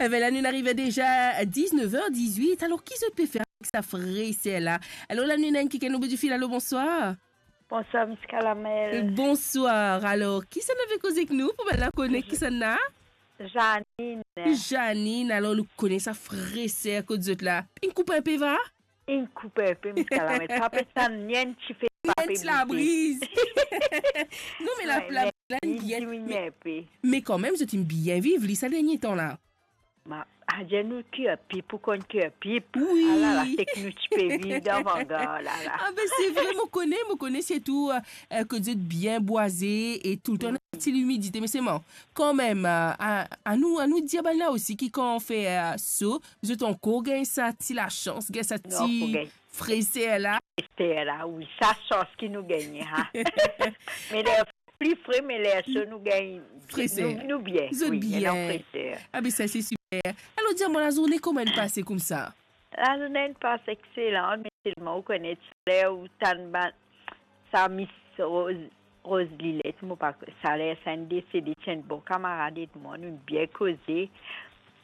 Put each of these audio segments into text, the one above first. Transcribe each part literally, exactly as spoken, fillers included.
Enben la, nou arive deza a diznef er dizwit. Alor, ki zot pe fer avek sa freser la? Alor la, nou ena enn kikenn o bout di fil. Alo, bonswar. Bonswar, Miss Kalamel. Bonswar. Alor, kisannla pe koz ek nou pou bann la kone kisannla? Janine. Janine, alor nou kone sa freser kot zot la. Inn koup inpe, va? Inn koup inpe, Miss Kalamel. Pa pe tann ni enn tife, pa pe boute. Ni enn ti labriz. Non, me la, wi, la, me la, li bien, diminie me, inpe. Me kanmem, zot inn bien viv li sa dernie tan la. Ma, adir nou ker pip, ou konn ker pip. Wi. Alala, seki nou ti pe viv dan vangar, lala. Ah ben, se vre, mo kone, mo kone, sirtou, eh, eh, kot zot bien bwaze e toultan ena ti limidite, me selman, kanmem, eh, a, anou, anou dir bann la osi ki kan fer, eh, so, zot ankor gagn sa ti lasans, gagn sa ti freser la. Freser la, wi, sa sans ki nou gagne, ha. Me ler pli fre, me ler so nou gagn, freser, nou, nou bien, zot wi, bien. Ena freser. Ah ben, sa se siper. Alor, dir mwa, lazourne kouma inn pase koumsa? Lazourne inn pas exelan, me selman ou kone, ler ou tann bann, sa Miss Rose, Rose Lilette, mo pa, sa ler sa inn desede, ti enn bon kamarad ek mwa, nou bien koze.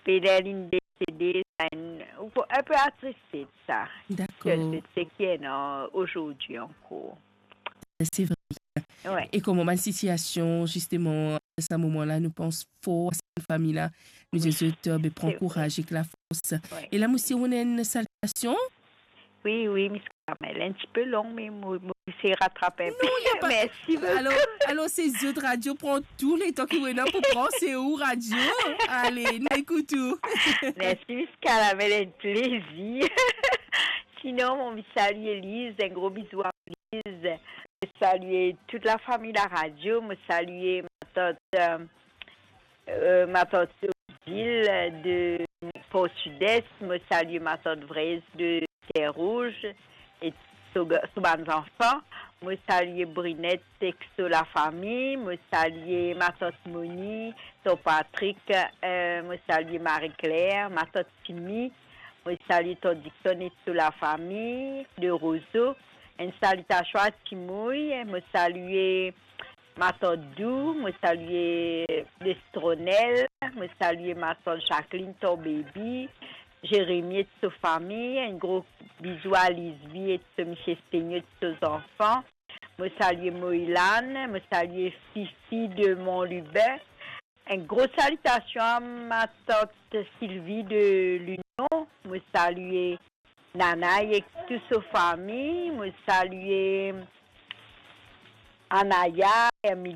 Pe ler linn desede, sa inn, ou ko-, inpe atriste de sa. Dakor. Sel seki ena azordi ankor. Se vre. Wi. E kouma bann sitiasion, zisteman, sa moman la, nou pans for a sa fami la, nou dir zot, eh, be, pran kouraz ek lafors. Wi. E la, mo sir ou ena enn salitasion. Wi, wi, Miss Kalamel, enn tipe long, me mo, mo esey ratrap inpe. Non, na pa. Mersi boukou. Alor, alor, se zot radio pran tou letan ki ou ena pou pran, se ou radio. Ale, nou ekout ou. Mersi, Miss Kalamel, enn plezir. Sinon, mo salie Liz, enn gro bizou a Liz. Mo salie tou lafami laradio, mo salie matant, eh, eh, matant Odile de Port Sud-Est, mo salie matant Vrez de Terre Rouge e so ga-, so bann zanfan. Mo salie Brinette ek so lafami, mo salie matant Moni, ton Patrick, eh, mo salie Marie-Claire, matant Timi, mo salie ton Dixon e so lafami de Rozo. Enn salitasion a Timoy, mo salie matant Dou, mo salie Lestronel, mo salie matant Jacqueline, ton baby, Jérémie e so fami, enn gro bizou a Lisby e so misie Stegno e so zanfan. Mo salie Moïlane, mo salie Fifi de Mont-Lubin. Enn gro salitasion a matant Sylvie de Lunon. Mo salie Nana ek tou so fami. Mo salie Anaya, Hermilie,